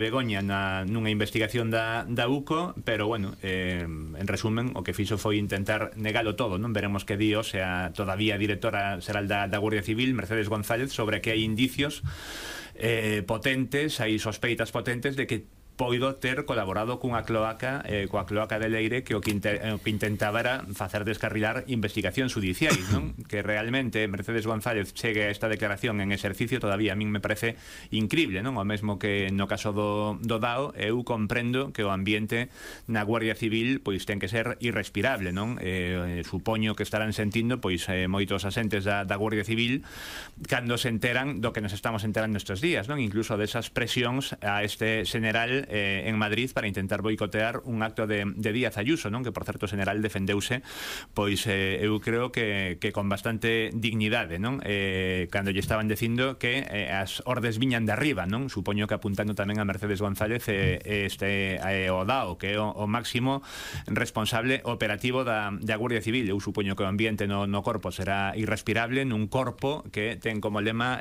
Begoña nunha investigación da UCO, pero bueno, en resumen, o que fixo foi intentar negalo todo, non? Veremos que di, o sea, todavía directora xeral da Guardia Civil, Mercedes González, sobre que hai indicios potentes, hai sospeitas potentes de que poido ter colaborado coa cloaca de Leire, que o que intentaba era facer descarrilar investigacións judiciais, non? Que realmente Mercedes González chegue a esta declaración en exercicio todavía a min me parece incrible, non? O mesmo que no caso do DAO, eu comprendo que o ambiente na Guardia Civil pois ten que ser irrespirable, non? Supoño que estarán sentindo pois moitos asentes da Guardia Civil cando se enteran do que nos estamos enterando estes días, non? Incluso desas presións a este general en Madrid para intentar boicotear un acto de Díaz Ayuso, non? Que por certo o general defendeuse pois eu creo que con bastante dignidade, non? Cando lle estaban dicindo que as ordes viñan de arriba, non? Supoño que apuntando tamén a Mercedes González o DAO, que é o máximo responsable operativo da Guardia Civil. Eu supoño que o ambiente no corpo será irrespirable nun corpo que ten como lema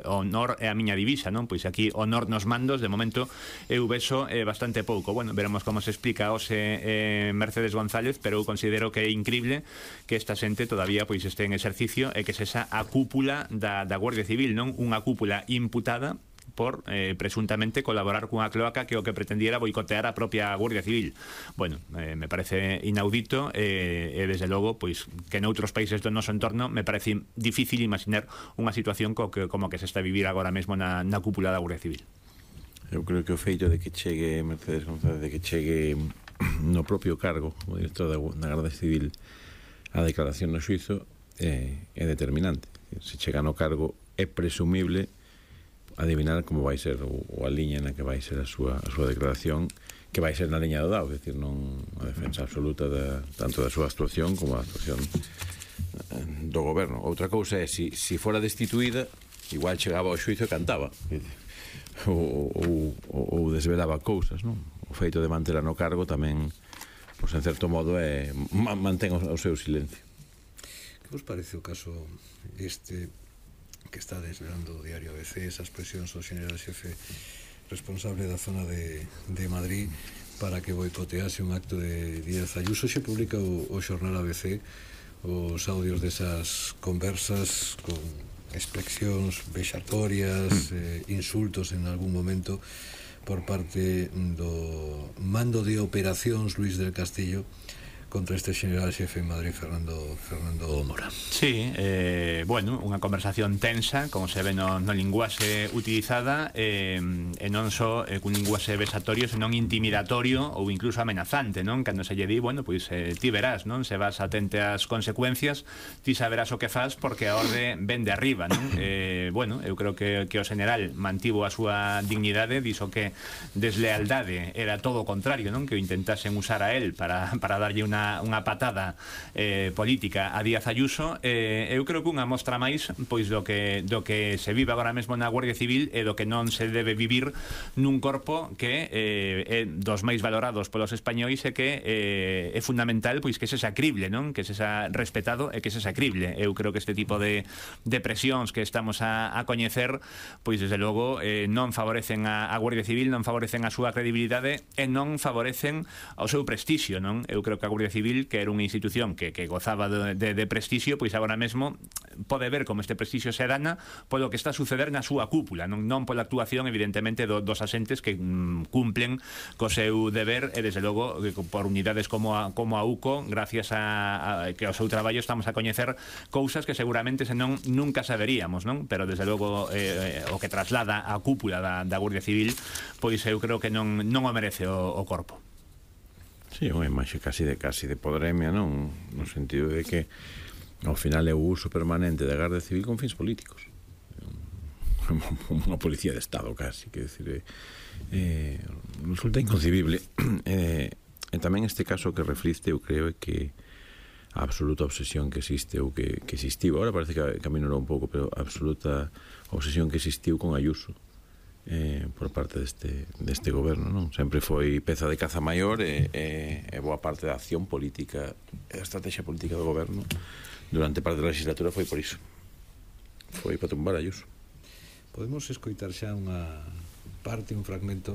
honor é a miña divisa, non? Pois aquí honor nos mandos, de momento eu vexo bastante pouco. Bueno, veremos como se explica hoxe Mercedes González, pero eu considero que é incrible que esta xente todavía pois este en exercicio e que sexa a cúpula da Guardia Civil, non? Unha cúpula imputada por presuntamente colaborar cunha cloaca que o que pretendiera boicotear a propia Guardia Civil. Bueno, me parece inaudito e desde logo pois que noutros países do noso entorno me parece difícil imaginar unha situación como que se está a vivir agora mesmo na cúpula da Guardia Civil. Eu creo que o feito de que chegue Mercedes González, de que chegue no propio cargo o director da Garda Civil a declaración no xuizo é determinante. Se chega no cargo é presumible adivinar como vai ser ou a liña na que vai ser a súa declaración, que vai ser na liña do DAO, é dicir, non a defensa absoluta tanto da súa actuación como da actuación do goberno. Outra cousa é se fora destituída, igual chegaba ao xuizo e cantaba, ou desvelaba cousas, non? O feito de mantela no cargo tamén, pois en certo modo mantén o seu silencio. Que vos parece o caso este que está desvelando o diario ABC, esas presións ao general xefe responsable da zona de Madrid para que boicotease un acto de Díaz Ayuso? Se publica o xornal ABC os audios desas conversas con expresións vexatorias, insultos en algún momento por parte do mando de operacións Luis del Castillo contra este general xefe en Madrid, Fernando Mora. Sí, bueno, unha conversación tensa, como se ve no linguaxe utilizada, e non só cun linguaxe vexatorio, senón intimidatorio ou incluso amenazante, non? Cando se lle di, bueno, pois ti verás, non? Se vas atente ás consecuencias, ti saberás o que faz porque a orde ven de arriba, non? Bueno, eu creo que o general mantivo a súa dignidade, dixo que deslealdade era todo o contrario, non? Que o intentasen usar a él para darlle unha patada política a Díaz Ayuso. Eu creo que unha mostra máis pois do que se vive agora mesmo na Guardia Civil e do que non se debe vivir nun corpo que é dos máis valorados polos españois e que é fundamental pois que sexa crible, non? Que sexa respetado e que sexa crible. Eu creo que este tipo de presións que estamos a coñecer pois desde logo non favorecen a Guardia Civil, non favorecen a súa credibilidade e non favorecen ao seu prestixio, non? Eu creo que a Guardia Civil, que era unha institución que gozaba de prestixio, pois agora mesmo pode ver como este prestixio se dana polo que está a suceder na súa cúpula, non pola actuación evidentemente dos asentes que cumplen co seu deber e desde logo por unidades como a UCO, gracias a que ao seu traballo estamos a coñecer cousas que seguramente senón nunca saberíamos, non? Pero desde logo o que traslada a cúpula da Guardia Civil, pois eu creo que non o merece o corpo. Sí, unha imaxe casi de podremia, non? No sentido de que ao final é o uso permanente da Garda Civil con fins políticos. Unha policía de Estado casi, que decir, resulta inconcebible. E tamén este caso que refliste, eu creo, é que a absoluta obsesión que existe ou que existiu, agora parece que aminorou un pouco, pero a absoluta obsesión que existiu con Ayuso por parte deste goberno, non? Sempre foi peza de caza maior e boa parte da acción política e da estrategia política do goberno durante parte da legislatura foi por iso, foi para tumbar a Ayuso. Podemos escoitar xa unha parte, un fragmento